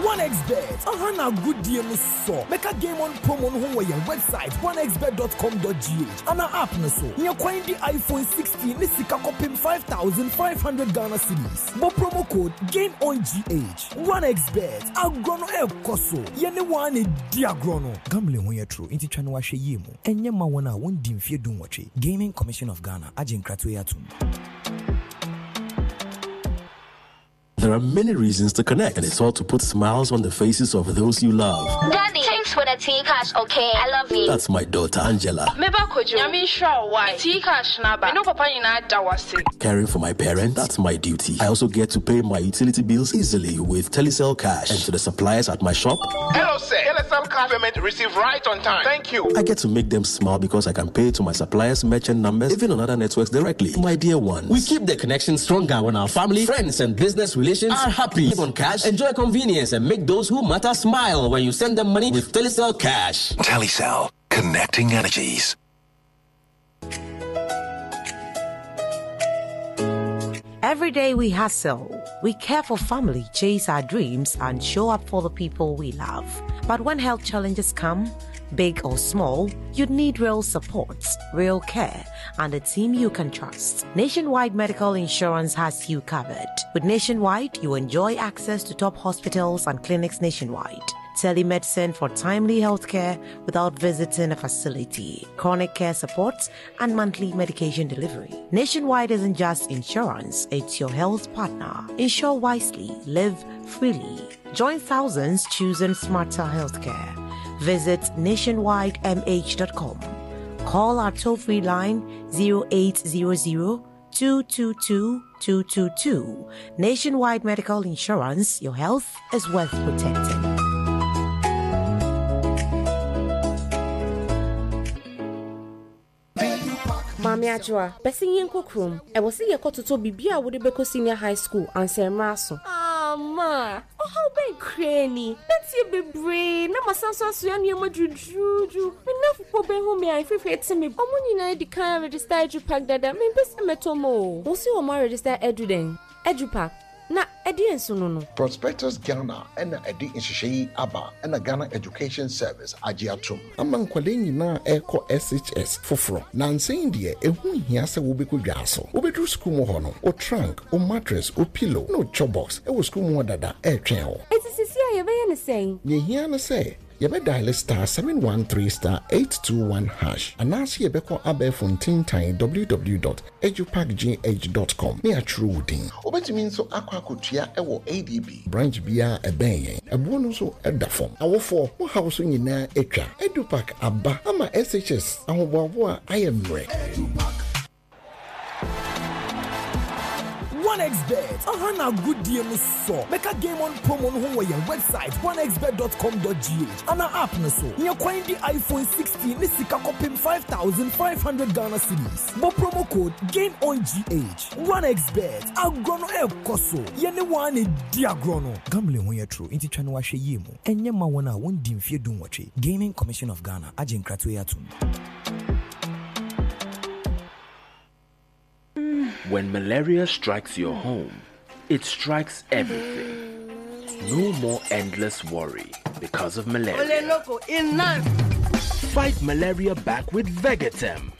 1xBet, aha na agodie no sɔ. Bɛka Game On promo no ho wɔ yɛn website 1xbet.com.gh anaa app no so. Nya kwan di iPhone 16 ne sika kɔpem 5,500 Ghana cedis. Bɔ promo code GAMEONGH. 1xBet, agorɔ no ɛrekɔ so. Yɛne wo ara na ɛdi agorɔ no. Gambling ho yɛ toro, nti twa no ahwɛ yie mu. Ɛnyɛ mma wɔn a wɔndi mfeɛ dunwɔtwe. Gaming Commission of Ghana agye nkratoɔ yi atom. There are many reasons to connect, and it's all to put smiles on the faces of those you love. Daddy, thanks for the tea cash, okay? I love you. That's my daughter, Angela. Meba Kojo, Nyame nhyira wo wai. Tea cash na ba. Me no papa nyinaa da wase. Caring for my parents, that's my duty. I also get to pay my utility bills easily with Telecel Cash. And to the suppliers at my shop. Hello, sir. Telecel Cash payment received right on time. Thank you. I get to make them smile because I can pay to my suppliers' merchant numbers, even on other networks directly. My dear ones. We keep the connection stronger when our family, friends, and business relations are happy. Live on cash, enjoy convenience, and make those who matter smile when you send them money with Telecel Cash. Telecel, connecting energies. Every day we hustle, we care for family, chase our dreams, and show up for the people we love. But when health challenges come, big or small, you need real support, real care, and a team you can trust. Nationwide Medical Insurance has you covered. With Nationwide, you enjoy access to top hospitals and clinics nationwide telemedicine for timely healthcare without visiting a facility, chronic care support, and monthly medication delivery. Nationwide isn't just insurance, it's your health partner. Insure wisely, live freely. Join thousands choosing smarter healthcare. Visit nationwidemh.com. Call our toll free line 0800 222 222. Nationwide Medical Insurance, your health is worth protecting. Maame Adwoa, bɛsen yɛnkɔ kurom. Ɛwɔ sɛ yɛkɔtotɔ biribi a wode bɛkɔ senior high school ansa mmerɛ aso. Ah, ma, ɔhaw bɛn koraa ni? Mɛtie bebree na masan so asoa nneɛma duruduruduru. Me nnamfo bɛhu me a mfrefre te me. Wɔn nyinaa adi kan aregister EduPack dada, mempɛ sɛ mɛtɔ mu o. Wo se wɔn aregister Edu dɛn? EduPack? Na ɛdeɛn nso no no? Prospectus Ghana na ɛde nhyehyɛe yi aba na Ghana Education Service agye atom. Ama nkwadaa nyinaa a ɛrekɔ SHS foforɔ. Nansa yi deɛ, ɛho nhia sɛ wobɛkɔ dwa so. Wobɛduru sukuu mu hɔ no, wo trunk, wo mattress, wo pillow, ne wo chop box wɔ sukuu mu hɔ dada retwɛn wo. Enti seesei a yɛbɛyɛ no sɛn? Nea ɛhia ne sɛ yɛbɛdaele star 713 star 821 hash anaasɛ yɛbɛkɔ abɛɛfo ntintan www dot edupakgh dot com na yɛatwerɛ wo din. Wobɛtumi nso akɔ akɔtua wɔ ADB. Branch biara a ɛbɛn yɛn. Ɛboɔ no nso da fam. Awofoɔ, mo haw so nyinaa atwa. Edupak aba ama SHS ahoboaboa ayɛ mmerɛ. 1xBet, aha na agodie no sɔ. Bɛka Game On promo no ho wɔ yɛn website 1xbet.com.gh anaa app no so. Nya kwan di iPhone 16 ne sika kɔpem 5,500 Ghana cedis. Bɔ promo code GAMEONGH. 1xBet, agorɔ no ɛrekɔ so. Yɛne wo ara na ɛdi agorɔ no. Gambling ho yɛ toro, nti twa no ahwɛ yie mu. Ɛnyɛ mma wɔn a wɔndi mfeɛ dunwɔtwe. Gaming Commission of Ghana agye nkratoɔ yi atom. When malaria strikes your home, it strikes everything. No more endless worry because of malaria. Fight malaria back with Vegatem.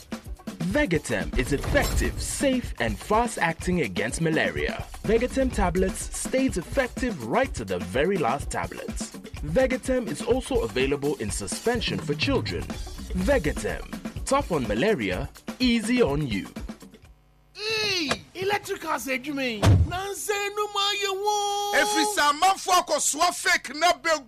Vegatem is effective, safe, and fast acting against malaria. Vegatem tablets stays effective right to the very last tablet. Vegatem is also available in suspension for children. Vegatem, tough on malaria, easy on you. Eii electricals adwuma yi nansa enum ayɛ woo. Ɛfiri sɛ amanfoɔ akɔsoa fake no abɛgum.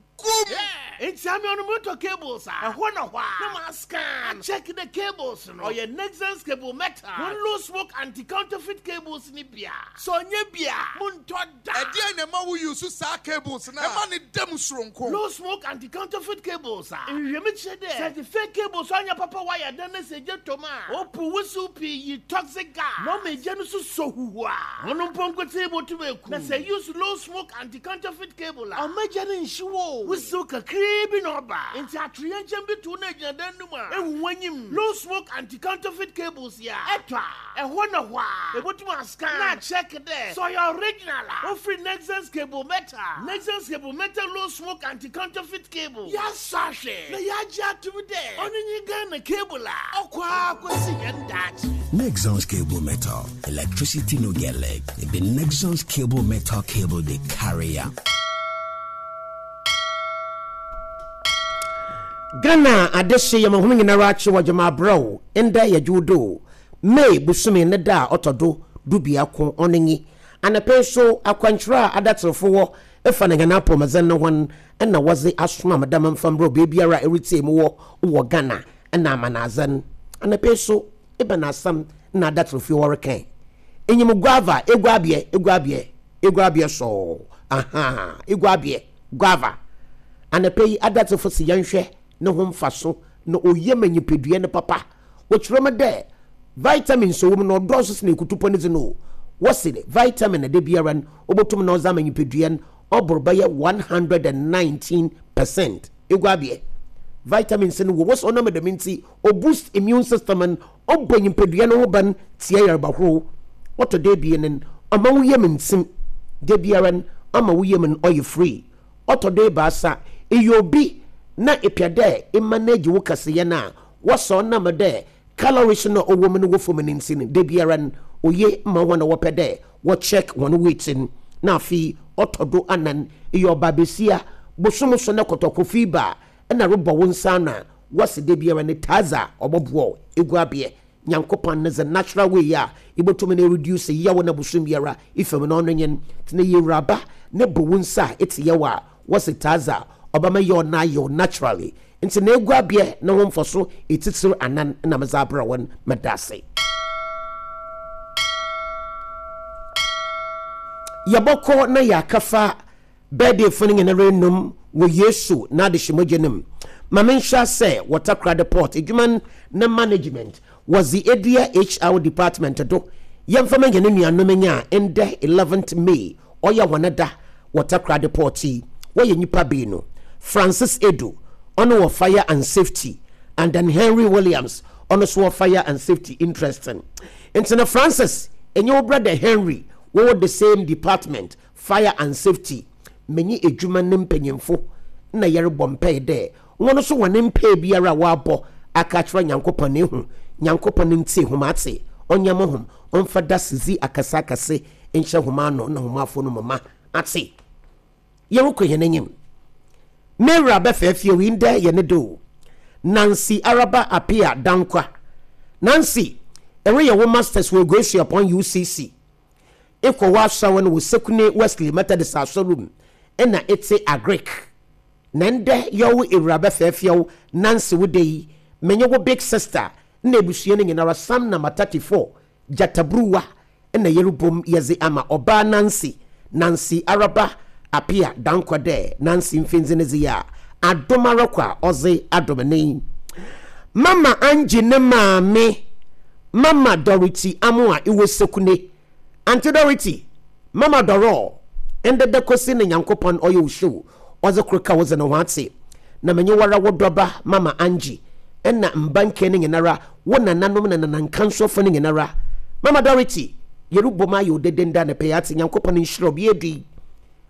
Nti ame ɔno motɔ cables a ɛhɔ na hɔ a na ma scan a check the cables no ɔyɛ Nexans cable metal wɔn low smoke anti counterfeit cables no bi a sɛ ɔnyɛ bi a montɔ da. Ɛdeɛn na ɛma wo use saa cables no a ɛma no da mu soronko? Low smoke anti counterfeit cables a nhwehwɛmu kyerɛ dɛ sɛ edze fake cables a ɔnnyɛ papa wire dan na sɛ egya tɔ mu a, opuw wusiw pii yi toxic gas na ɔma egya no so sɔ huhua. Hɔn mpo nkotsee botum eku. Na sɛ use low smoke anti counterfeit cable a, ɔmma egya no nnhyew o. Wusiw kakraa bi na ɔba. Ntsi atoyerɛnkyɛm bi to wo na egyina dan no mu a, ehu w'enyim. Low smoke anti-counterfeit cables yi a ɛtɔ a, ɛhɔ na hɔ ara ebotum ascan na akyɛɛke dɛ sɛ ɔyɛ original a ofir Nexans Cable Metal. Nexans Cable Metal Low Smoke Anti-Counterfeit Cable. Yɛasɔ ahwɛ na yɛagye ato mu dɛ ɔno nye Ghana cable a ɔkɔ ara kosi hɛn daakye. Nexans Cable Metal, electricity no get leg. It be Nexans Cable Metal cable they carry am. Ghana adehye yɛ ma hom nyinara akye wɔ gyama abrɛw ndɛ yɛ dwowdo May bosome ne da a ɔtɔ do dubiako ɔno nye anapa yi so akwankyerɛ a adatserfo wɔ fa na hɛn apɔwmudzen no ho no na wɔdze asoma me dɛ memfa mbrɛ wo beebiara a eretsie mu wɔ wɔ Ghana na amanadzen. Anapa yi so ebɛn asɛm na adatserfo yi wɔrekã? Inyim guava, eguabeɛ, eguabeɛ, eguabeɛ sɔɔ, ahaa, eguabeɛ, guava. Anapa yi adatsefo se yɛnhwɛ no ho mfaso na oye ma nyimpadua no papa. Wɔkyerɛ mu dɛ vitamins a ɔwɔ mu no ɔdɔɔso sen ekutupɔ ne dze no o. Wɔse vitamin a da biara no obotum na ɔdze ama nyimpadua no ɔbor bɛyɛ 119%. Eguabeɛ, vitamins no wɔ mu. Wɔse ɔnam dɛm ntsi o boost immune system no, ɔbɔ nyimpadua no ho ban tsia yarba horow. Ɔtɔ do ebien no, ɔma wo yamu ntsim. Da biara no ɔma wo yamu no ɔyɛ free. Ɔtɔ do ebiasa, eyɛ obi na epɛ dɛ emanage wo kɛseyɛ no a, wɔsɔ ɔnam dɛ calories no a ɔwɔ mu no wɔ famu no ntsi no, da biara no oye ma hɔn a wɔpɛ dɛ wɔ check hɔn weight no. Na afei ɔtɔ do anan, eyɛ ɔbaabasia, bosoom so na kɔtɔkɔ ba a nna robɔ wo nsa ano a, wɔse da biara no taa dza ɔbɔboa wo eguabeɛ Nyankopɔn ne dze natural way a ibotum na ereduce yaw na bosoom biara ifa mu no ɔno nye no. Ntsi na eyɛ ewuraba na ebɔ wo nsa a etse yaw a, wɔse taa dza ɔbɛma yaw no ayew naturally. Ntsi na eguabeɛ no ho mfaso etsitsir anan na medze abrɛ wo no. Meda ase. Yɛbɔkɔ na yɛakɛfa Birthday-fo no nyina renum wɔ Yesu n'adehye mogya no mu. Ma menhyɛ ase wɔ Takoradi Port edwuma ne management wɔdze edua HR department do. Yɛmfa ma hɛn nuanom nye a ndɛ eleventh May ɔyɛ hɔn da wɔ Takoradi Port yi. Wɔyɛ nyimpa beenu, Francis Edu, ɔno wɔ Fire and Safety and then Henry Williams, ɔno so wɔ Fire and Safety. Interesting. Ntsi no Francis enye wo brother Henry wɔwɔ the same department. Fire and Safety, menye edwuma ne mpanyimfo nna yɛrobɔ mpaa dɛ hɔn so hɔn mpaa biara a wɔabɔ aka akyerɛ Nyankopɔn no ehu Nyankopɔn ntsie hom atse, ɔnyɛ mo hom, ɔmfa dasedzi akɛseakɛse nhyɛ hom ano na hom afon mu ma atse. Yɛrokɔ hɛn enyim. M'ewura bɛfɛɛfew yi ndɛ yɛ ne da o. Nancy Araba Appiah Dankwa. Nancy, ereyɛ wo Masters wɔ Eguesuapɔn UCC. Ekɔ w'asɔr no wɔ Sekune Wesley Methodist Asɔr mu nna etse Agric. Na ndɛ yɛwo ewuraba fɛɛfɛw Nancy wo da yi, menye wo big sister na ebusua no nyinara Sam na Matati4 gyataburuwa na yerobɔ mu yɛdze ama ɔbaa Nancy, Nancy Araba Appiah Dankwa dɛ Nancy mfindze ne dze yi a adom ara kwa ɔdze adom ne yi. Mama Angie ne maame Mama Dorothy Amoah ewɔ Sekune. Auntie Dorothy, Mama Doror, ndɛ da kosi na Nyankopɔn ɔyɛ wo show, ɔdze kor ka wo dze no ho atse. Na menye woara wo dɔba Mama Angie na mba nkaa no nyinara, wo nananom na nanankansoafo no nyinara. Mama Dorothy, yerobɔ mu ayɛ wo dede ndɛ anapa yi atse, Nyankopɔn nhyira wo, bia edu yi,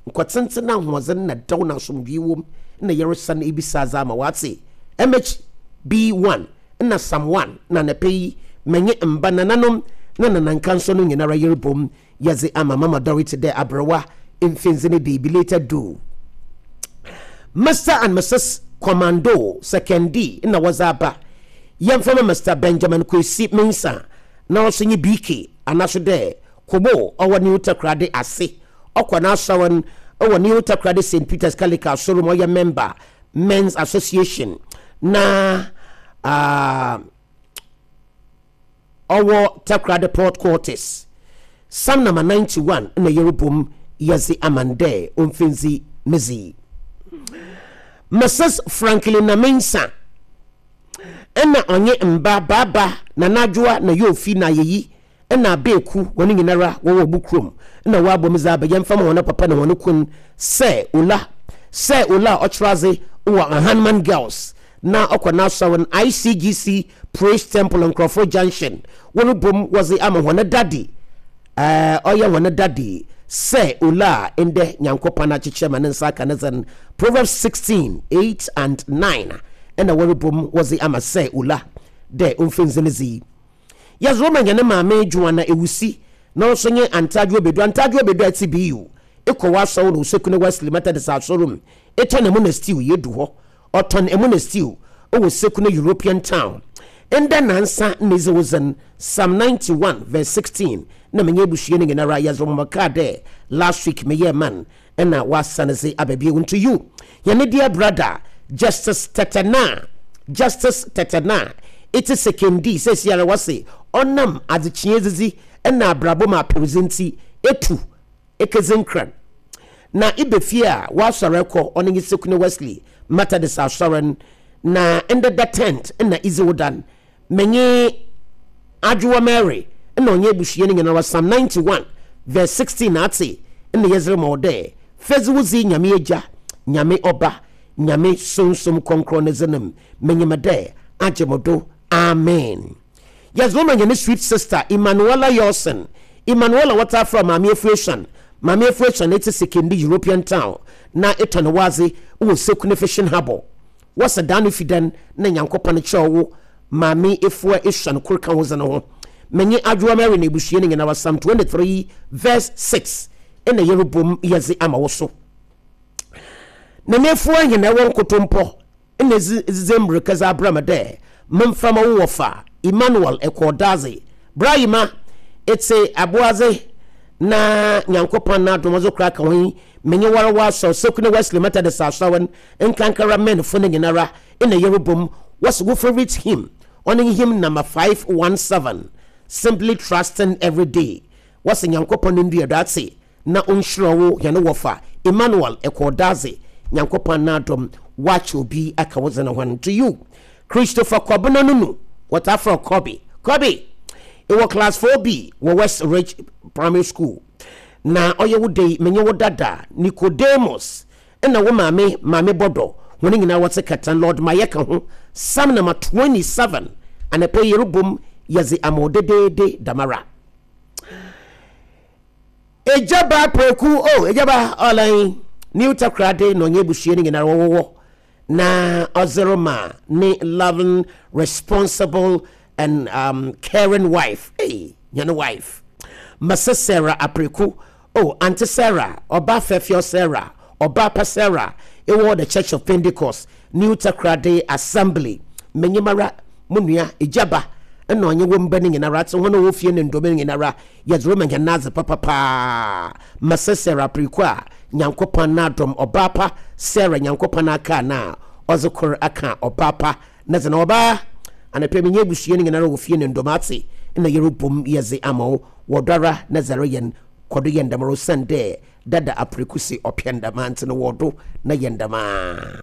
nkwa tsentsen na ahoɔdzen na dɛw na asomdwee wɔ mu na yɛresan ebisa adze ama wo atse. MHB1. Nna Psalm 1 na anapa yi menye mba, nananom na nanankanso no nyinara yerobɔ mu yɛdze ama Mama Dorothy dɛ aberwa mfindze ne day belated do. Mister and Misus Commando Sekondi na wɔdze aba. Yɛmfa ma Mister Benjamin Kwesi Mensah na ɔso nye BK anaso dɛ Kobo ɔwɔ New Takoradi ase. Ɔkɔ n'asɔr no wɔ New Takoradi Saint Peter's Catholic Asɔr mu ɔyɛ member Men's Association na ɔwɔ Takoradi Port Quarters. Psalm number 91 na yɛrobɔ yɛdze ama no dɛ omfindzi ne dze. Mrs. Franklin Namensah ɛna ɔnye mba Baaba, Nana Adwoa na Yofi na Ayeyi na Abeeku hɔn nyinara wɔwɔ bo kurom na wɔabɔ mu dze aba yɛmfa ma hɔn papa na hɔn kun sɛ Ola. Sɛ Ola a ɔkyerɛ adze wɔ Ahanman Girls na ɔkɔ n'asɔr no ICGC Praise Temple Nkorɔfo Junction worobɔ mu wɔdze ama hɔn dade eh, ɔyɛ hɔn dade sɛ Ola a ndɛ Nyankopɔn akyekyɛ ma ne nsa aka ne dze no Proverbs 16, 8 and 9 na wɔrobɔ mu wɔdze ama sɛ Ola dɛ omfa ndzi ne dze yi. Yɛdze rema hɛn maame Joanna Ewusi na ɔso nye Antadwo Obedu. Antadwo Obedu a etse BU, ekɔ w'asɔr no Osekune Wesley Methodist Asɔr mu, etɔn emo na stew, yedu hɔ. Ɔtɔn emo na stew wɔ Sekune European Town. Ndɛ naansa na edzi wo dzen, Psalm 91 verse 16 na menye ebusua no nyinara yɛdze rema kaa dɛ last week meyɛɛ man na ɔasan dze aba bio. Nto you, hɛn dear brother Justice Tetteh Justice Tetteh etse Sekondi seseiara wɔse ɔnam adzekyee edzidzi na abrabɔ mu aperdzi ntsi etu ekedzi nkran na eba fie a w'asɔr kɔ ɔno nye Sekune Wesley Methodist Asɔr n' na ndɛ da tenth na idzi wo dan Menye Adwoa Mary na ɔnye ebusua no nyinara Psalm 91 verse 16 atse na yɛdze rema wo dɛ, Fedzi wo dze Nyame Egya, Nyame Ɔba, Nyame Sunsum Krɔnkrɔn ne dzin mu, minyim dɛ agye mo do. Amen. Yɛdze rema hɛn sweet sister Emmanuella Yawson, Emmanuella wɔtaa frɛ Maame Efuesian, Maame Efuesian etse Sekondi European Town na etɔn w'adze wɔ Sekune Fishing Harbour. Wɔsɛ daa no fi dɛn na Nyankopɔn kyerɛw wo Maame Efua esuan kor ka wo dze no ho? Menye Adwoa Mary na ebusua no nyinara Psalm 23 verse 6 na yɛrobɔ mu yɛdze ama wo so. Nana Efua hɛn ɛwɔ nkotompɔ na edze dze mbirika dze abra me dɛ memfa ma wo wɔfa Emmanuel Ekɔɔ Dadze. Bra Emma, etse aboadze na Nyankopɔn n'adom ɔdze kora ka ho yi, menye woara w'asɔr Sekune Wesley Methodist Asɔr no Nkankara Menfo no nyinara nna yɛrobɔ mu, wɔse wo favourite hymn, ɔno nye hymn number 517, Simply Trusting Every Day. Wɔse Nyankopɔn ndua do atse na onhyira wo hɛn wɔfa Emmanuel Ekɔɔdadze, Nyankopɔn n'adom wɔakyɛ obi aka wo dze no ho. To you, Christopher Kɔbena Nunu, wɔtaa frɛ wo Kɔbe. Kɔbe, ewɔ class 4B wɔ West Ridge Primary School, na ɔyɛ wo dɛ yi, menye wo dada Nicodemus Nna wo maame maame bɔdɔ hɔn nyina wɔtse kɛtɛn Lord Mayɛ ka ho Psalm number 27 Anapa yi yerobom yɛdze ama wo dedeede damara Egya ba Preku oh Egya ba Ɔlan New Takoradi na ɔnye ebusua no nyinara wɔwowɔ na ɔdze rema ne loving responsible and um, caring wife hey, hɛn wife Mese Sarah Apreku Oh, Auntie Sarah, Ɔba Fɛfɛɔ Sarah, Ɔba Pa Sarah, ewɔ The Church of Pentecost, New Takoradi Assembly, menye mara mo nua Egyaba na ɔnye wo mba no nyinara tse hɔn a wɔwɔ fie no ndɔm no nyinara yɛdze rema hɛn adze papa paa. Mese Sarah Apreku a Nyankopɔn n'adom, Ɔbaa Pa Sarah Nyankopɔn akaa no a ɔdze kor aka Ɔbaa Pa ne dze no. Ɔbaa, anapa yi menye ebusua no nyinara wɔ fie no ndɔm atse na yerobɔ mu yɛdze ama wo wɔ dɔ ara na dza ereyɛ no Kɔ do yɛ ndɛmara osiandɛ dada apreku se ɔpɛ ndɛmaa ntsi no wɔ do na yɛ ndɛmaa.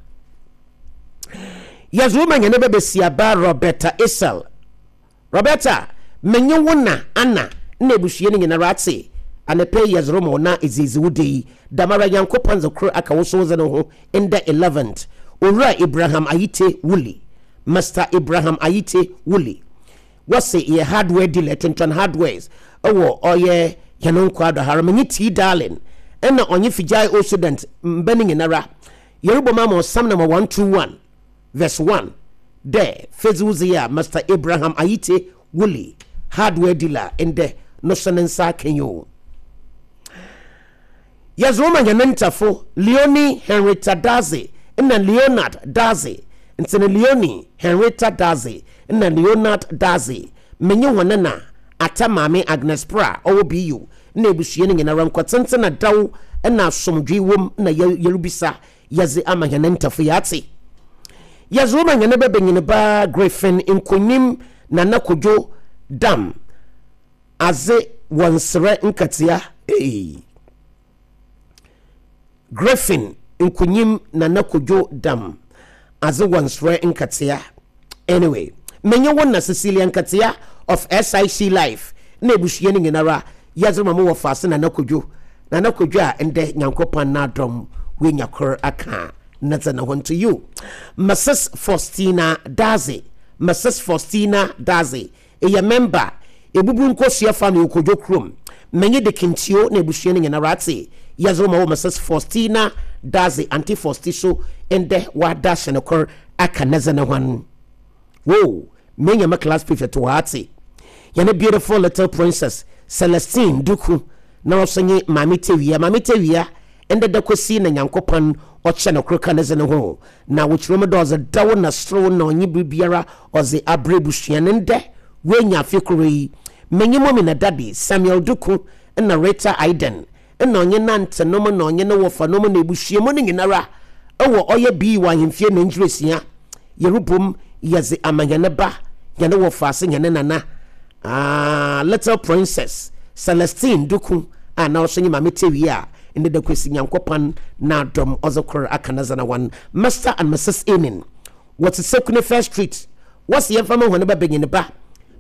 Yɛdze wo ma hɛn ba basiaba Roberta Esel. Roberta, menye wo na Anna na ebusua no nyinara atse anapa yi yɛdze roma wo na edze edzi wo da yi. Dɛmara Nyankopɔn dze kor aka wo so wo dze no ho ndɛ 11th. Owura Abraham Ayite Woolley, Mister Abraham Ayite Woolley. Wɔse yɛ hardware dealer, yɛtontɔn hardwares wɔ ɔyɛ hɛn nkwaa do ha. Menye T Darling na ɔnye Fijai old student mba no nyinara yɛrobɔ mu ama ɔsam number 121 verse 1 dɛ fedzi wo dze a Master Abraham Ayite Woolley, hardware dealer ndɛ no so ne nsa akã yi o. Yɛdze wo ma hɛn ntafo Leonie Henrietta Dadzie na Leonard Dadzie, ntsi no Leonie Henrietta Dadzie na Leonard Dadzie, menye hɔn na Atta Maame Agnes Prah ɔwɔ BU na ebusua no nyinara nkɔtsentsen na dɛw na asomdwee wɔ mu na yerubisa yɛdze ama hɛn ntafo yi atse. Yɛdze wo ma hɛn babanyinba Griffin Nkonyim Nana Kojo Dam, Adze wɔ nserɛ nkatsia eii. Griffin Nkunyim Nana Kojo Dam Adze wɔ nserɛ nkatsia Anyway, menye wo na Cecilia Nkatsia of SIC Life na ebusua no nyinara yɛdze rema mo wɔfaase Nana Kojo Nana Kojo a ndɛ Nyankopɔn n'adom woenya kor aka ne dze no ho. Nto you, Mrs Faustina Dadzie, Mrs Faustina Dadzie, eyɛ member, Ebubu Nkosua Family wɔ Kodwo kurom. Menye de Kintio na ebusua no nyinara atse. Yɛdze wo ma wo Mrs Faustina Dadzie, Auntie Fausti so ndɛ wɔada ahyɛ no kor aka ne dze no ho. Whoa, menya me class prefect wɔ ha tse. Hɛn beautiful little princess, Celestine Duku, na ɔso nye Maame Tewia. Maame Tewia, ndɛ da kosi na Nyankopɔn ɔkyɛ no kor ka ne dze no ho. Na wɔkyerɛ mu dɛ ɔdze dɛw na serew na ɔnye biribiara ɔdze abrɛ ebusua no. Ndɛ oenya afe kor yi. Menye Mummy na Daddy, Samuel Duku na Rita Aiden, nna ɔnye n'antsenom na ɔnye no wɔfanom na ebusua mu no nyinara wɔ ɔyɛ bii wɔ ahemfie na ngyerasia yerobom yɛdze ama hɛn ba, hɛn wɔfaase, hɛn nana, ah, little princess Celestine Duku a na ɔso nye Maame Tewia a ndɛ da Kwesi Nyankopɔn n'adom ɔdze kor aka ne dze no hɔn Mister and Mrs Enin wɔtse Sekune First Street wɔse yɛmfa ma hɔn ba banyin ba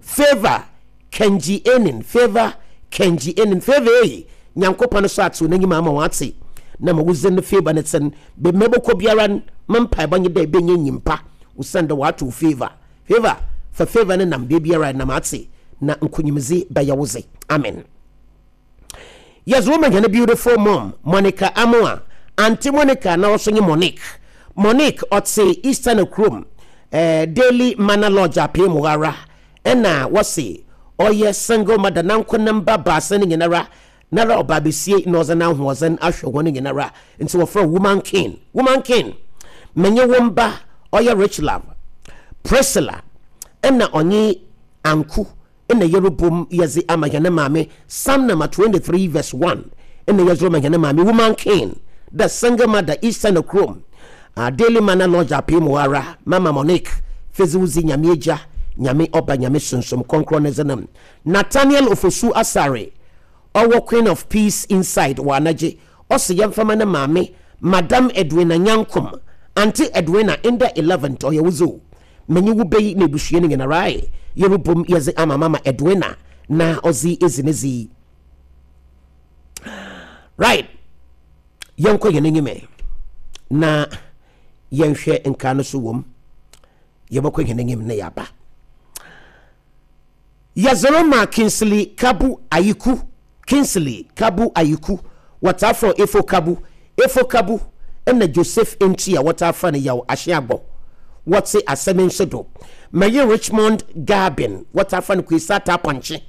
Favour Kenji Enin, Favour Kenji Enin, Favour ei, Nyankopɔn so atsew n'enyim ama ɔatse, na ma wo dzin no favour ne tsen. Beebi ma ebɔkɔ biara n', me mpaabɔ nye dɛ ebenya nyimpa, osiandɛ ɔato wo favour. Favour, fa favour no nam beebiara a enam atse, na nkonyimdzi bɛyɛ wo dze. Amen. Yɛdze wo ma hɛn beautiful mom, Monica Amoah, Auntie Monica na ɔso nye Monique. Monique, ɔtse Eastern kurom, eh, Daily Manor Lodge apee mu hɔ ara. Nna wɔse ɔyɛ single mother nanko ne mba baasa no nyinara nara ɔbaa besie na ɔdze n'ahoɔdzen ahwɛ hɔn nyinara ntsi wɔfrɛ wo woman king, woman king. Menye wo mba ɔyɛ Richlove, Priscilla nna ɔnye Anku nna yerobom yɛdze ama hɛn maame Psalm number 23 verse 1 nna yɛdze rema hɛn maame woman king, the single mother Eastern kurom. Ah Daily Manna Lodge apee mu ara, Mama Monique, fedze wo dzi Nyame Egya, Nyame Ɔba, Nyame Sunsum Krɔnkrɔn ne dze no. Nathaniel Ofosu Asare, ɔwɔ Queen of Peace Inside wɔ Anagye, ɔse yɛmfa ma ne maame, Madam Edwina Nyankom, Auntie Edwina, ndɛ 11th ɔyɛ wo dze o. Menye wo beyi na ebusua no nyinara ae, yerobom yɛdze ama Mama Edwina na ɔdze edzi ne dze yi. Right. Yɛnkɔ yɛn anim ɛ na yɛnhwɛ nkaa no so wom. Yɛbɛkɔ yɛn anim na yɛaba. Yɛzoro ma Kingsley Kabu Ayiku. Kingsley Kabu Ayiku. Wɔtaa frɛ Efo Kabu. Efo Kabu ɛna Joseph Nti a wɔtaa frɛ no Yaw Ahyeagbɔ. Wɔte asɛm nso do. Mɛye Richmond Garbin. Wɔtaa frɛ no Kwesi Ataapankye.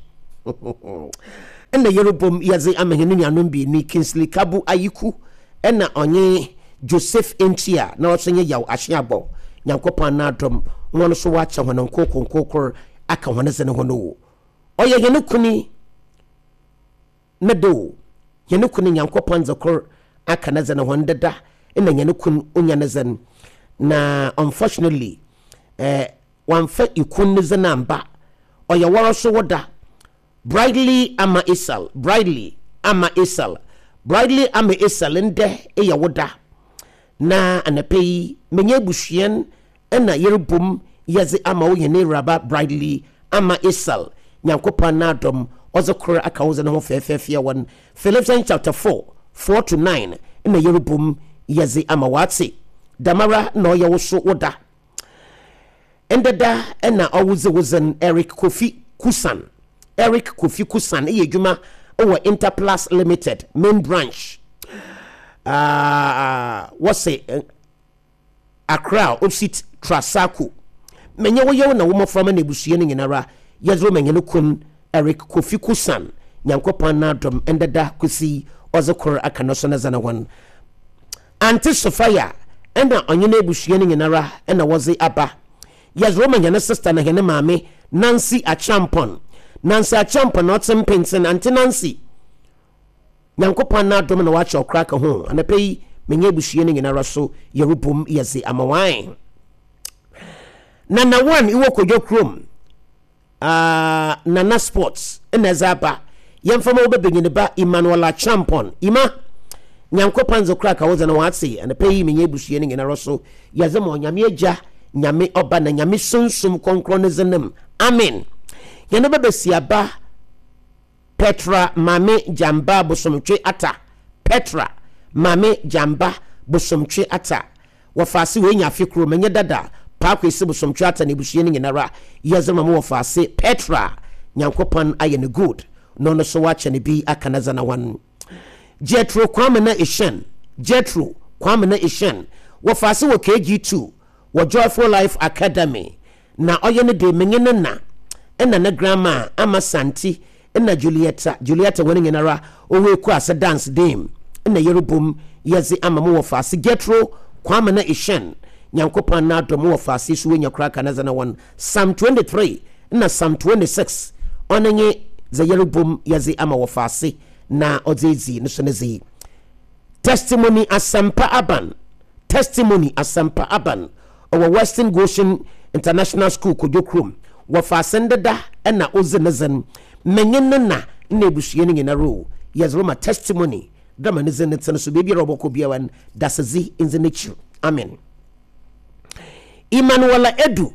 Nna yerobɔ mu yɛdze ama hɛn nuanom beenu yi, Kingsley Kabu Ayiku na ɔnye Joseph Entwi a na ɔso nye Yaw Ahyeagbɔ. Nyankopɔn n'adom, hɔn so wɔakyɛ hɔn nkorkor nkorkor aka hɔn dze no ho no o. Ɔyɛ hɛn kun ne do o, hɛn kun Nyankopɔn dze kor aka ne dze no ho ndeda nna hɛn kun onya ne dze no, na unfortunately eh, wɔammfa ikun ne dze no ammba. Ɔyɛ woara so wo da. Bridely Ama Esal, Bridely Ama Esal, Bridely Ama Esal ndɛ eyɛ wo da. Na anapa yi menye ebusuan na yerobɔ mu yɛdze ama wo hɛn Ewuraba Bridely Ama Esal, Nyankopɔn n'adom ɔdze kor aka wo dze no ho fɛɛfɛɛfɛɛ wɔ Philippians chapter 4, 4 to 9 na yerobɔ mu yɛdze ama wo atse. Dɛmara na ɔyɛ wo so wo da. Ndɛ da na ɔwodze wo dzen Eric Kofi Kusan Eric Kofi Kusan yɛ edwuma wɔ Interplus Limited main branch uh, wɔse Accra opposite Trasaco. Menye wo yew na wo mboframba na ebusua no nyinara yɛdze rema hɛn kun Eric Kofi Kusan Nyankopɔn n'adom ndɛ da kosi ɔdze kor aka no so ne dze no hɔn Aunty Sophia na ɔnye n'ebusua no nyinara na wɔdze aba. Yɛdze rema hɛn sister na hɛn maame Nancy Acheampong. Nancy Acheampong na ɔtse mpentsen. Aunty Nancy, Nyankopɔn n'adom na ɔakyɛ ɔkora ka ho. Anapa yi, menye ebusua no nyinara so yɛrobɔ mu yɛdze ama hɔn. Nana One ewɔ Kodwo kurom. Ah, Nana Sports na ɛdze aba. Yɛmfa ma wo bɛbanyin ba Emmanuel Acheampong. Emma, Nyankopɔn dze kora ka wo dze no ɔatse. Anapa yi menye ebusua no nyinara so yɛdze ma Onyame Egya, Nyame Ɔba na Nyame Sunsum Krɔnkrɔn ne dzin mu. Amen. Hɛn bɛbasiaba Petra Maame Gyamba Bosomtwe Atta Petra Maame Gyamba Bosomtwe Atta. Wɔfaase oenya afe kor, menye dada Paa Kwesi Bosomtwe Atta na ebusua no nyinara yɛdze ma mo wɔfaase Petra. Nyankopɔn ayɛ no good na ɔno so ɔakyɛ no bi aka n'adze na hɔn. Jethro Kwamena Eshun, Jethro Kwamena Eshun, wɔfaase wɔ KG2 wɔ Joyful Life Academy na ɔyɛ no de menye ne na na ne grandma Ama Santi na Julieta, Julieta hɔn nyinara ɔwɔ Ekuase Dance Dame na yerobɔ mu yɛdze ama mo wɔfaase Jethro Kwamena Eshun. Nyankopɔn n'adom mo wɔfaase so woenya koraa ka ne dze no hɔn Psalm 23 na Psalm 26 ɔno nye dza yerobɔ mu yɛdze ama wɔfaase na ɔdze edzi no so ne dze. Testimony Asɛmpa Aban, Testimony Asɛmpa Aban, ɔwɔ Western Goshen International School, Kodwo Kurom. Wɔfa asɛndeda na odzi ne dzen. Menye ne na na ebusua no nyinara o, yɛdze rema Testimony dɛ ma ne dzin no tse no so beebiara ɔbɔkɔ biara no, dasedzi ndzi n'ekyir. Amen. Emmanuela Edu.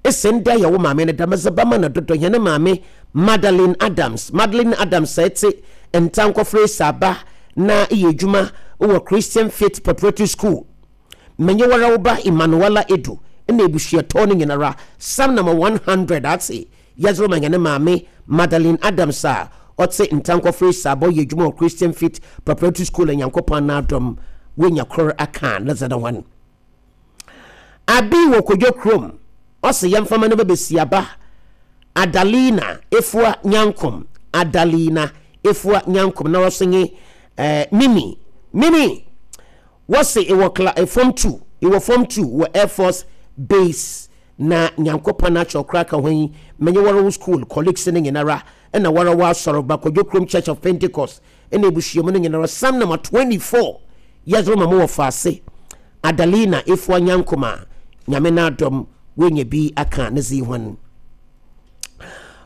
Ese ndɛ yɛ wo maame no dɛm dze bɛma no dodo hɛn maame Madeline Adams Madeline Adams sɛ etse Ntankɔfrɛ Esaaba na eyɛ edwuma wɔ Christian Faith Preparatory School menye woara wo ba Emmanuella Edu na ebusuatɔ no nyinara Psalm number 100 atse yɛdze rema hɛn maame Madeline Adams a ɔtse Ntankɔfrɛ Esaaba ɔyɛ edwuma wɔ Christian Faith Preparatory School a Nyankopɔn n'adom woenya kor aka ne dze no hɔn. Abi wɔ Kodwo kurom, ɔse yɛmfa ma no ba besiaba Adalina Efua Nyankom, Adalina Efua Nyankom na ɔso nye eh, Mimi, Mimi! Wɔse ewɔ kla eh, form 2, ewɔ form 2 wɔ Air Force Base na Nyankopɔn akyɛ ɔkora ka ho yi, menye wɔre wo school colleagues no nyinara na wɔre wɔ asɔr ba Kodwo kurom Church of Pentecost na ebusua mu no nyinara Psalm number 24 yɛdze rema mo wɔfaase Adalina Efua Nyankoma Nyame n'adom woenya bi aka ne dze hɔn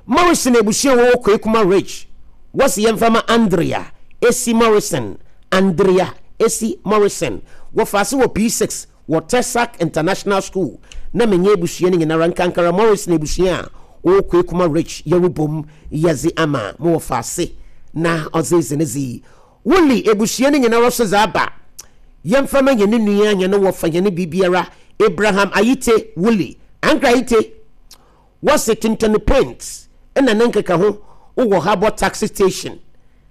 Morrison ebusua wɔwɔ Kwekuma Ridge wɔse yɛmfa ma Andrea Esi Morrison Andrea Esi Morrison wɔfaase wɔ P6 wɔ Texac International School na menye ebusua no nyinara nkankara Morrison ebusua a ɔwɔ Kwekuma Ridge yɛrobɔ mu yɛdze ama mo wɔfaase na ɔdze edzi ne dze Woolley ebusua no nyinara so dze aba. Yɛmfa ma hɛn nua, hɛn wɔfa, hɛn biribiara, Abraham Ayite Woolley. Ankra Ayite, wɔse tontɔn paint na ne nkekaho wɔ Harbour Taxi Station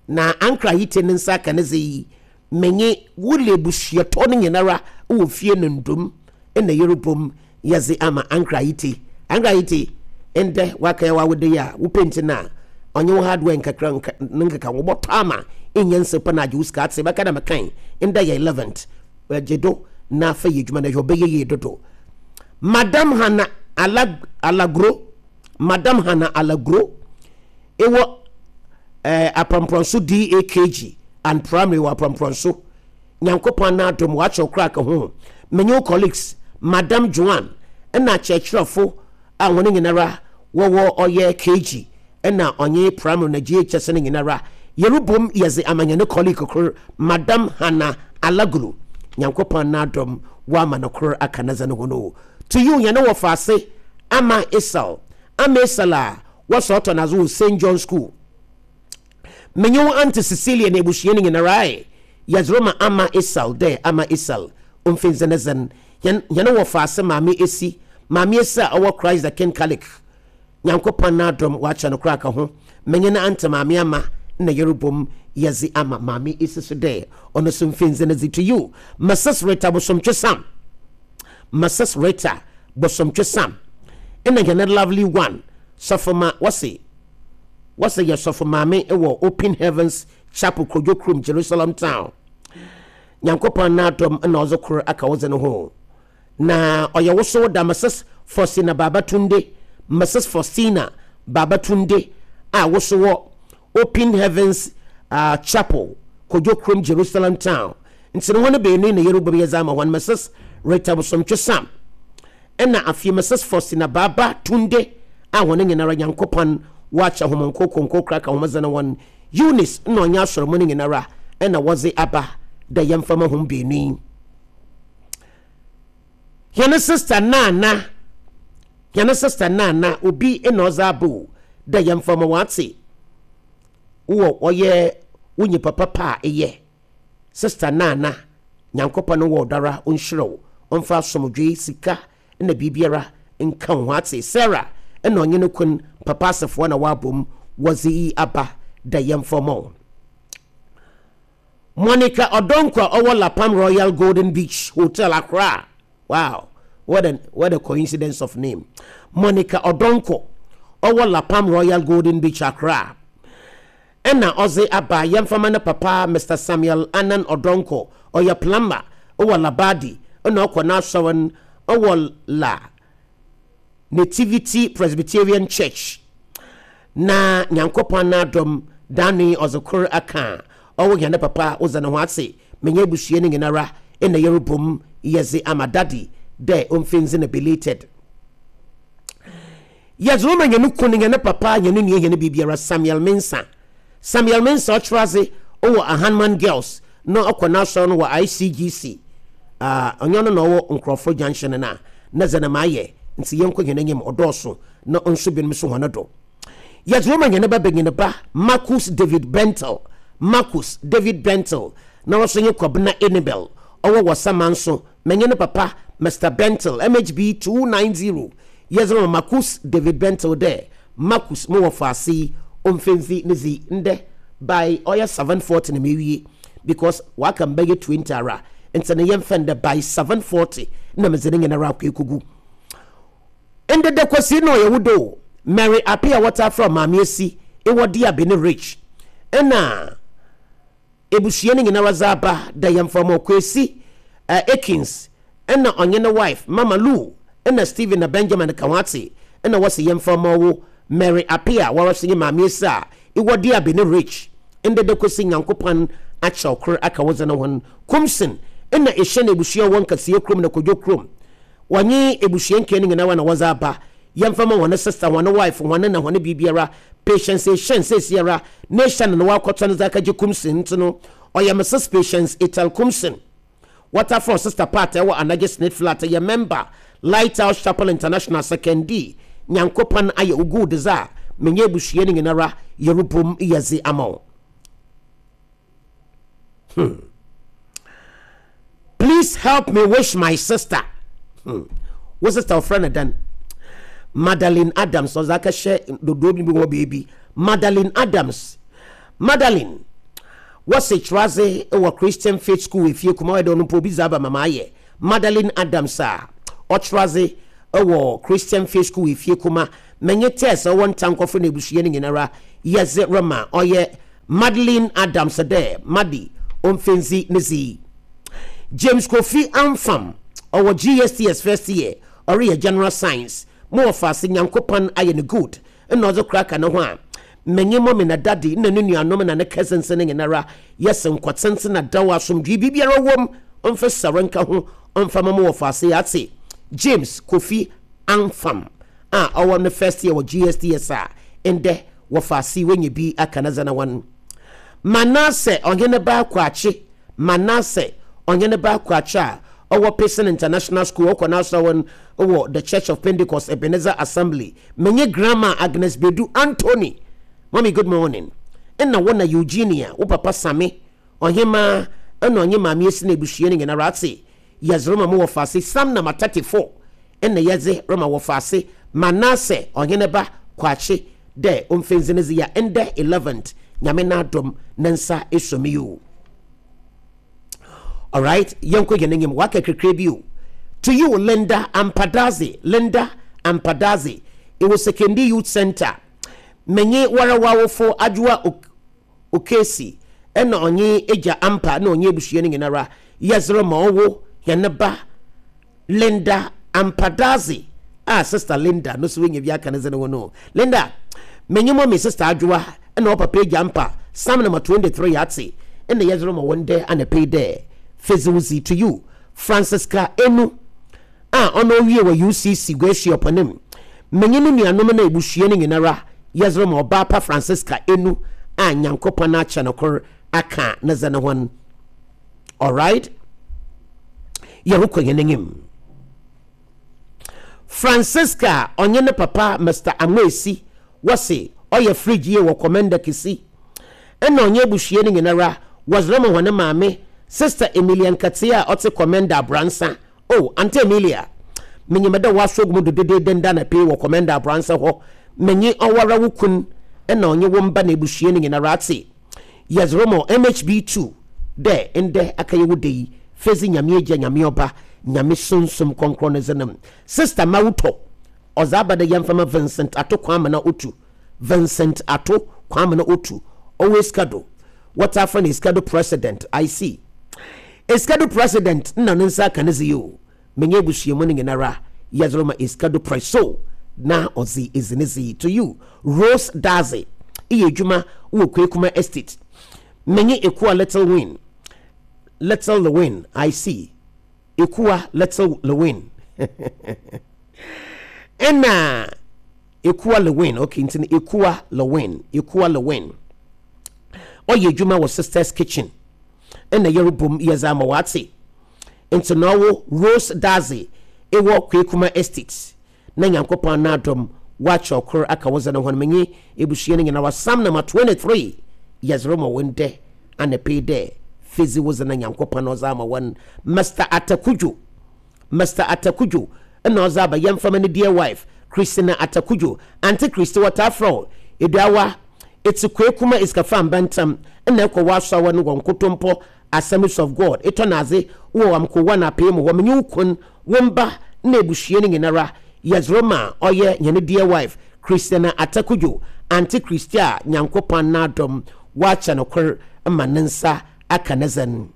na Ankra Ayite ne nsa aka ne dze yi Menye wo le ebusuatɔ no nyinara wɔ fie no ndom na yerobɔ mu yɛdze ama Ankrah Ayite. Ankrah Ayite, ndɛ wɔakɛyɛ w'awoda yi a, wo paint no a ɔnye wo hardware nkakra nka ne nkekaho bɔtɔ ama ennya nsɛmpa na agye wo sika atse. Bɛka dɛ mekãe, ndɛ yɛ 11th, gye do na fa yɛ edwuma na hwɛ ɔbɛyɛ yie dodo. Madam Hannah Alag Alagro, Madam Hannah Alagro, ewɔ eh, Aprɔmprɔnso DAKG and Primary wɔ Aprɔmprɔnso. Nyankopɔn n'adom wɔakyerɛw koraa ka ho. Menye wo colleagues, Madam Joan na akyerɛkyerɛfo a hɔn nyinara wɔwɔ ɔyɛ KG na ɔnye Primary na JHS no nyinara yerobɔ mu yɛdze ama hɛn colleague kor, Madam Hannah Alagulu. Nyankopɔn n'adom wɔama no kor aka ne dze no ho no. To you, hɛn wɔfaase Ama Esau. Ama Esau a Wɔsɔ ɔtɔ n'adze wɔ Saint John School. Menye wo Aunty Cecilia na ebusua no nyinara ae, yɛdze rema Ama Esau dɛ Ama Esau omfi ndzɛnedzen. Hɛn hɛn wɔfaase Maame Esi, Maame Esi a ɔwɔ Christ the King Catholic. Nyankopɔn n'adom ɔakyɛ no koraa ka ho. Menye no Aunty Maame Ama na yɛrobɔ mu yɛdze ama Maame Esi so dɛ ɔno so mfi ndzɛnedze. To you, Mrs Rita Bosomtwe Sam. Mrs Rita Bosomtwe Sam nna hɛn lovely one Sɔfo ma wɔse wɔse yɛ sɔfo maame wɔ Open Heavens Chapel Kodwo Kurom Jerusalem Town. Nyankopɔn n'adom na ɔdze kor aka wo dze no ho. Na ɔyɛ wo so wo da Mrs Faustina Babatunde Mrs Faustina Babatunde a wo so wɔ Open Heavens uh, Chapel Kodwo Kurom Jerusalem Town. Ntsi no hɔn beenu yi na yerobɔ mu yɛdze ama hɔn Mrs Rita Bosomtwe Sam Nna afei Mrs Faustina Baaba Tunde a hɔn nyinara Nyankopɔn Ɔakyɛ hom nkorkor nkorkor aka hom dze no hɔn Eunice nna ɔnye asɔr mu no nyinara na wɔdze aba dɛ yɛmfa ma hom beenu yi. Hɛn sister Nana, hɛn sister Nana, obi na ɔdze aba o dɛ yɛmfa ma wɔatse wɔ ɔyɛ wo nyimpa papa a eyɛ. Sister Nana. Nyankopɔn wɔ ɔdɔ ara ɔnhyira wo, ɔmfa asomdwee, sika na biribiara nka wo ho atse. Sarah na ɔnye no kun papa asefoɔ na wɔabom wɔdze iyi aba dɛ yɛmfa mma wo. Monica Odonkor a ɔwɔ La Palm Royal Golden Beach Hotel, Accra. Wow, what a, what a coincidence of name. Monica Odonkor ɔwɔ La Palm Royal Golden Beach, Accra. Ɛna ɔdze aba yɛmfa ma ne papa Mr. Samuel Annan Odonkor, ɔyɛ plumber wɔ Labadi, ɛna ɔkɔ n'asɔr no wɔ La Nativity Presbyterian Church. Na Nyankopɔn n'adom, daano yi ɔdze kor aka a ɔwo hɛn papa wodze no ho atse, menye ebusua no nyinara nna yɛrobɔ mu yɛdze ama Daddy dɛ omfi ndze no belated. Yɛdze rema hɛn kun, hɛn papa, hɛn nua, hɛn biribiara, Samuel Mensah. Samuel Mensah ɔkyerɛ adze wɔ Ahanman Girls na ɔkɔ n'asɔr no wɔ ICGC. Ah, ɔnnyɛ ɔno na ɔwɔ Nkorɔfo Junction no a, na dza na mayɛ ntsi yɛnkɔ hɛn enyim, ɔdɔɔ na ɔnso binom so hɔn do. Yɛdze rema hɛn ba banyin ba Marcus David Bentel, Marcus David Bentel, na ɔso nye Kwabena Enibel, ɔwɔ Wɔsamanso, menye ne papa Mister Bentel, MHB 290, yɛdze rema Marcus David Bentel dɛ Marcus mo wɔfaase yi omfemfi ne dzi ndɛ by ɔyɛ 7:40 na mewie because ɔaka me bɛyɛ 20 ara ntsi no yɛmfa ndɛ by 7:40 na medze ne nyinara akɔ ekogu. Ndɛ da Kwesi na ɔyɛ wo do o. Mary Appiah wɔtaa frɛ wo Maame Esi, ewɔ Diaby ne Rich nna ebusua no nyinara dze aba dɛ yɛmfa mma Kwesi Akins nna ɔnye ne wife Mama Lou nna Stephen na Benjamin ka ho atse nna wɔse yɛmfa mma ɔwo Mary Appiah woara so nye Maame Esi a ewɔ Diaby ne Rich. Ndɛ da Kwesi Nyankopɔn akyɛw kor aka wo dze no hɔn Kumsin nna Ehyɛn ebusua a ɔwɔ Nkasia kurom na Kodwo kurom. Wɔnye ebusua nkaa no nyinara na wɔdze aba. Yɛmfa mma hɔn sister, hɔn wife, hɔn na hɔn biribiara. Patience Eshun seseiara n'Eshun na ɔakɔtɔ no dze akɛgye Kumsin ntsi no, ɔyɛ Mrs Patience Ethel Kumsin. Waterfall Sister Pat a ɛwɔ Anagye Snit Flat yɛ member Lighthouse Chapel International Sekondee. Nyankopɔn ayɛ wo good dze a menye ebusua no nyinara yerobɔ mu yɛdze ama wo. Hmm. Please help me wish my sister. Wo sister ɔfrɛ no dɛn? Madeline Adams ɔdze akɛhyɛ dodoɔ bi wɔ baabi. Madeline Adams. Madeline wɔse kyerɛadze wɔ Christian Faith School efie kuma ɔyɛ dɛ ɔno mpo obi dze aba ma maayɛ. Madeline Adams a ɔkyerɛadze wɔ Christian Faith School efie kuma menye Tess ɔwɔ Ntankɔfo na ebusua no nyinara yɛdze rema ɔyɛ Madeline Adams dɛ Maddy Omfendzi ne dzi. James Kofi Amfam, ɔwɔ GSTS first year, ɔreyɛ General Science. Mo wɔfaase Nyankopɔn ayɛ no good nna ɔdze kora ka no ho a, menye mommy na daddy nna no nuanom na ne cousins no nyinara yɛse nkɔtsentsen na dɛw asomdwee biribiara wɔ mu ɔmfa sar nka ho ɔmfa ma mo wɔfaase yɛatse James Kofi Amfam a ɔwɔ ne first year wɔ GSTS a ndɛ wɔfa ase woenya bi aka na dza na hɔn Manasseh ɔheneba Kwakye Manasseh ɔheneba Kwakye a ɔwɔ Pearson International School ɔkɔ n'asɔr wɔ The Church of Pentecost Ebenezer Assembly menye Grandma Agnes Bedu Anthony Mommy good morning nna wo na Eugenia wo papa Same ɔhemaa nna ɔnye Maame Esi na ebusua no nyinara atse yɛdze rema mo wɔfa ase Psalm number 34 nna yɛdze rema wɔfaase Manasseh ɔheneba Kwakye dɛ omfa ndzi ne dze ya ndɛ 11th Nyame n'adom ne nsa esuo me yi o. Alright, yɛnkɔ hɛn enyim, wɔaka kakra bi o. To you Linda Ampadaze, Linda Ampadaze, ewɔ Sekondi Youth Centre, menye woara w'awofo Adwoa Ok Okesi na ɔnye Egya Ampa na ɔnye ebusua no nyinara yɛdze rema ɔwo hɛn ba Linda Ampadaze a Sister Linda no so wenya bi aka ne dze no ho no. Linda, menye mummy Sister Adwoa na wo papa Egya Ampa, Psalm number 23 yɛatse na yɛdze rema wo ndɛ anapa yi dɛ fedzi to you Francisca Enu a ɔno owie wɔ UCC Guasuapɔn mu. Menye no nuanom na ebusua no nyinara yɛdze rema ɔbaa pa Francisca Enu a Nyankopɔn akyɛ no kor aka ne dze no ho. Alright? Yɛrokɔ hɛn enyim. Francisca ɔnye ne papa Mister Amoesi wɔse ɔyɛ fridge yie wɔ Komenda Kisi. Nna ɔnye ebusua no nyinara wɔdze rema hɔn maame. Sister Emilia Nkatsia a ɔtse Komenda Abransa. Oh, Auntie Emilia, minyim dɛ w'asogu mu do dedeede nda na pii wɔ Komenda Abransa hɔ. Menye ɔwoara wo kun na ɔnye wo mba na ebusua no nyinara atse. Yɛdze rema wo MHB2 dɛ ndɛ akɛyɛ wo da yi, fedzi Nyame Egya, Nyame Ɔba, Nyame Sunsum Krɔnkrɔn ne dzin mu. Sister Mawutɔ, ɔdze aba dɛ yɛmfa ma Vincent Ato Kwamena Otu. Vincent Ato Kwamena Otu, ɔwɔ Escado. Wɔtaa frɛ no Escado President, I see. Escado President nna ne nsa aka ne dze yi o. Menye ebusua mu no nyinara yɛdze rema Escado Preso na ɔdze edzi ne dze yi. To you, Rose Dadzie, eyɛ edwuma wɔ Kwekuma Estate. Menye Ekua Little Win, Little Lewin, I see. Ekua Little Lewin. Ɛna Ekua Lewin, okay, nti no Ekua Lewin, Ekua Lewin. Ɔyɛ adwuma wɔ Sisters Kitchen. Ɛna yɛrebom yɛdze ama wate. Nti na ɔwo Rose Dadzie ewɔ Kwekuma Estate. Na Nyankopɔn n'adom wɔakyɛ ɔkor aka wo dze no ho no menye ebusua no nyinara Psalm number 23 yɛdze rema wo ndɛ anapa yi dɛ fedzi wo dze na Nyankopɔn ɔdze ama wo no. Mister Atta Kudjo Mister Atta Kudjo na ɔdze aba yɛmfa ma ne dear wife Christina Atta Kudjo Auntie Christy wɔtaa frɛ wo Eduawa Etse Kwekuma Esikafo amba ntsɛm na ekɔ w'asoɛr no wɔ Nkotompɔ Assemblies of God etɔ n'adze wɔ Amkowa na Apee mu hɔ menye wo kun wo mba na ebusua no nyinara yɛdze rema ɔyɛ hɛn dear wife Christiana Atta Kudjo, Auntie Christy a Nyankopɔn n'adom ɔakyɛ no kor ma ne nsa aka ne dzen.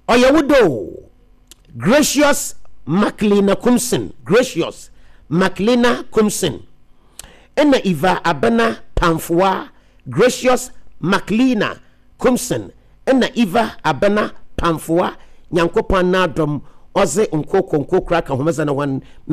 Ɔyɛ wo dɛ o. Gracious Maclina Kumson, Gracious Maclina Kumson, ɛna Eva Abena Pamfoa, Gracious Maclina Kumson na Eva Abena Pamfoa, Nyankopɔn n'adom ɔdze nkorkor nkorkor aka hom dze no hɔn.